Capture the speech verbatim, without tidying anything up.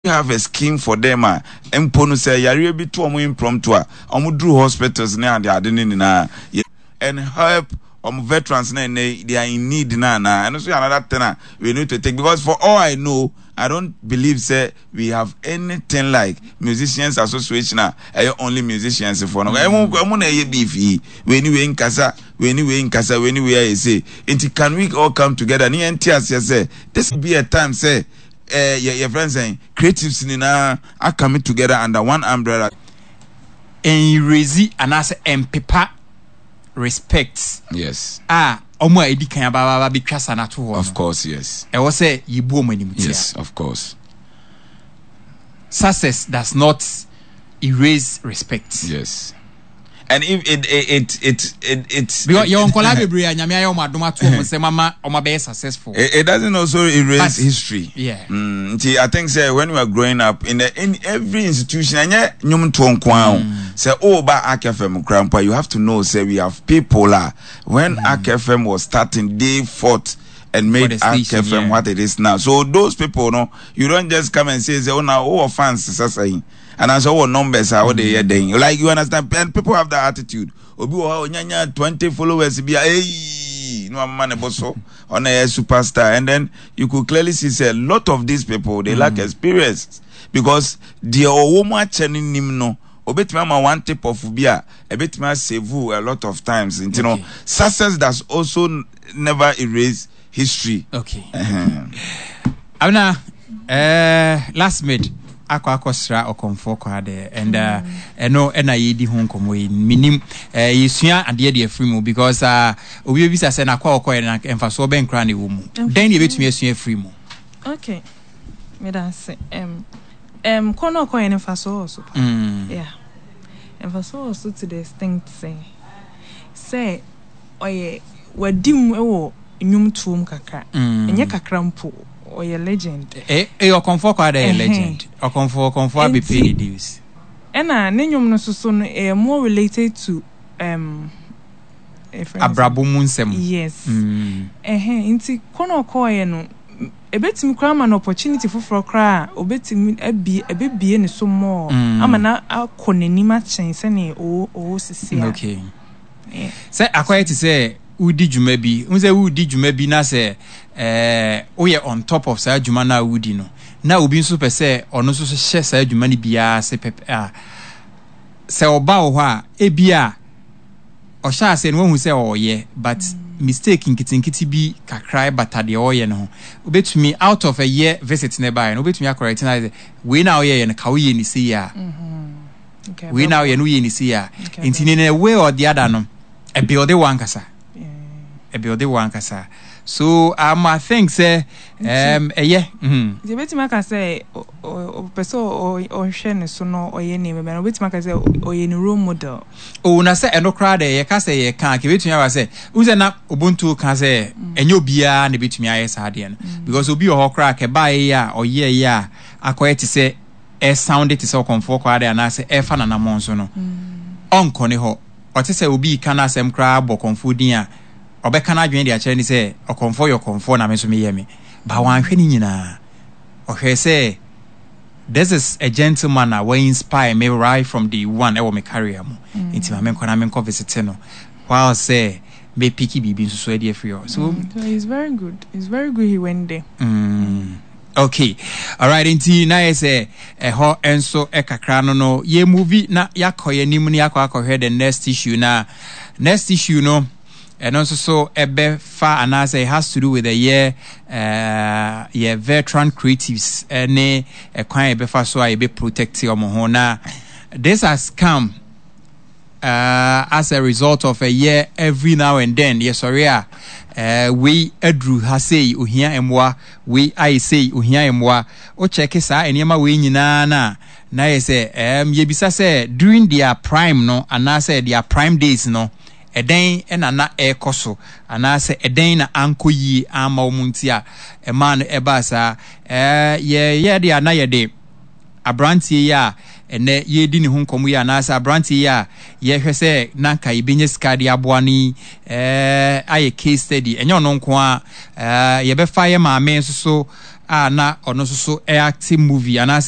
Have a scheme for them a mpo no sɛ yareɛ bi to ɔmo impromptu a, ɔmo duru hospitals ne ade ade ne nyinaa and help ɔmo veterans na ɛnɛ they are in need na na ɛno nso yɛ another thing a we need to take, because for all I know, I don't believe say we have anything like musicians association a ɛyɛ only musicians for no. ɛmo ɛmo na ɛyɛ beef yi, wei ni wei nkasa, wei ni wei nkasa, wei ni wei ayɛ say. Nti can we all come together ne yɛn ti aseɛ sɛ this be a time sɛ ɛɛ yɛ yɛ friends sɛn creatives nyinaa acome together under one umbrella? Ɛnrezi anaasɛ ɛmpepa respect yes a ɔmo a edi kan abaaba betwa sa n'ato hɔ of no course, yes. Ɛwɔ sɛ yɛbu ɔmo anim tia. Yes, of course. Success does not erase respect. Yes, and if it it it it it, it because yɛwɔ nkɔlaa bebree a Nyame ayɛ ɔmo adom ato ɔmo nsɛm ama ɔmo abɛyɛ successful. It, it doesn't also erase But- history. Yeah. Mm, nti I think say when we are growing up in the, in every institution, ɛnyɛ nnwomtoɔ nko ara o. Sɛ ɔɔba Ark F M kora mpo a, you have to know say we have people a when mm. Ark F M was starting, they fought and made the Ark station, F M yeah. what it is now. So those people no, you don't just come and say say oh, now oh, fans sasa yi and as our numbers are what they are doing. Like, you understand? And people have that attitude. Obi wɔ hɔ a onyanya twenty followers bi a, hey, no ama ne bo so on a superstar, and then you could clearly see say a lot of these people, they lack experience, because deɛ ɔwɔ mu akyɛ ne nim no, obetumi ama one tip of bi a ebetumi asave you a lot of times. Nti no Okay. success does also n- never erase history. Okay. Uh-huh. Abena, uh, last mid akɔ akɔsra Ɔkɔmfoɔ Kwaadɛ and uh, ɛno ɛna yɛdi ho nkɔmmɔ yi. Menim uh, yɛsua adeɛ deɛ afiri mu, because uh, obi bɛbisa sɛ nakɔ a ɔkɔɛ no mfasoɔ bɛn koraa na ɛwɔ mu? Dɛn ne yɛbɛtumi asua afiri mu? Okay, meda ase. um, um, kɔ na ɔkɔyɛ no, mfasoɔ wɔ so pa. Mm. Yeah, mfasoɔ wɔ so to the extent sɛ sɛ ɔyɛ wadi mu wɔ nnwomtoɔ mu kakra. Mm. Ɛnyɛ kakra mpo, ɔyɛ legend. Eh, eh, Ɔkɔmfoɔ Kwaadɛ yɛ Ɛhɛn. legend. Ɔkɔmfoɔ ɔkɔmfoɔ abɛpay Nti- ne dues. Ɛna ne nnwom no nso so no, ɛyɛ more related to um, ɛfrɛ no sɛ- Abrabɔ mu nsɛm. Yes. Mm. Ɛhɛn, nti kɔ na ɔkɔɔyɛ no, m- ebetumi koraa ama no opportunity foforɔ koraa a obetumi abie, ebebie ne so more Mm. ama na akɔ n'anim akyɛn sɛnea ɔwɔ ɔwɔ sisi a. Okay. Yeah. Sɛ akɔyɛ te sɛ wodi dwuma bi n sɛ wodi dwuma bi na sɛ ɛɛ woyɛ on top of saa dwuma no a wodi no, na obi nso pɛ sɛ ɔno nso so hyɛ saa dwuma no biara ase pɛpɛ a, sɛ ɔba wɔ hɔ a, ebi a ɔhyɛ ase no, wahu sɛ ɔyɛ, but mistake nketenkete bi kakra bata deɛ ɔyɛ no ho, wobɛtumi out of a year visit ne baeɛ no, wobɛtumi acorrect na sɛ wei na ɔyɛyɛ no ka woyɛ ne sei a, Okay, wei na ɔyɛ no, woyɛ ne sei a. Okay, nti ne in a way or the other no, ɛbuilde wɔ ankasa. Yeah. Ɛbuilde wɔ ankasa. So um, I think sɛ um, ɛyɛ mm. Nti ebetumi aka sɛ ɔ- ɔ- ɔpɛ sɛ ɔ- ɔhwɛ ne so na ɔyɛ nneɛma bi na obetumi aka sɛ ɔyɛ ne role model. O, na sɛ ɛno koraa deɛ, yɛka sɛ yɛka a, kɛbɛtumi aba sɛ wohu sɛ na Ubuntu ka sɛ ɛnyɛ obiara na ɛbɛtumi ayɛ saa adeɛ no, because obi wɔ hɔ koraa kɛbaeɛ yi a ɔyɛɛ yi a akɔyɛ te sɛ ɛsound te sɛ Ɔkɔmfoɔ Kwaadɛ anaasɛ ɛfa nanammɔ nso no, ɔnkɔ ne hɔ. Ɔte sɛ obi ka no asɛm koraa bɔ Ɔkɔmfoɔ din a, ɔbɛka no adwene de akyerɛ ne sɛ Ɔkɔmfoɔ yɛ Ɔkɔmfoɔ na me nso meyɛ me ba. Wanhwɛ ne nyinaa, ɔhwɛ sɛ this is a gentleman a wa inspire me right from day one ɛwɔ me career mu, nti ma menkɔ na menkɔ visit no while sɛ mɛpick biribi nso so adi afiri hɔ so. Mm, so it's very good, it's very good he went there. Mm, okay, alright, nti na yɛ sɛ ɛhɔ nso ɛkakra no no yɛ movie na yɛakɔ yɛn anim na yɛakɔ akɔhwɛ the next issue. Na next issue no, ɛno nso so ɛbɛfa anaasɛ it has to do with the yɛ uh, yɛ veteran creatives ɛne ɛkwan a yɛbɛfa so a yɛbɛ protect wɔn ho. Na this has come uh, as a result of a year, every now and then yɛsɔre a, uh, wei aduru ha sei, ohia mmoa, wei ayɛ sei, ohia mmoa. Wokyɛke saa nneɛma wei nyinaa na na yɛ sɛ um, yɛbisa sɛ during their prime no anaasɛ their prime days no, ɛdɛn ɛna na ɛrekɔ so anaasɛ ɛdɛn na ankɔ yie ama wɔn nti a ɛmaa no ɛbaa saa? ɛɛ yɛyɛ deɛ a na yɛde aberanteɛ yi a ɛnɛ yɛredi ne ho nkɔmmɔ yi anaasɛ aberanteɛ yi a yɛhwɛ sɛ na nka yɛbɛnya sika de aboa no yi ɛɛ ayɛ case study. Ɛnyɛ ɔno nko a, ɛɛ yɛbɛfa yɛ maame nso so a na ɔno nso so ɛact movie anaasɛ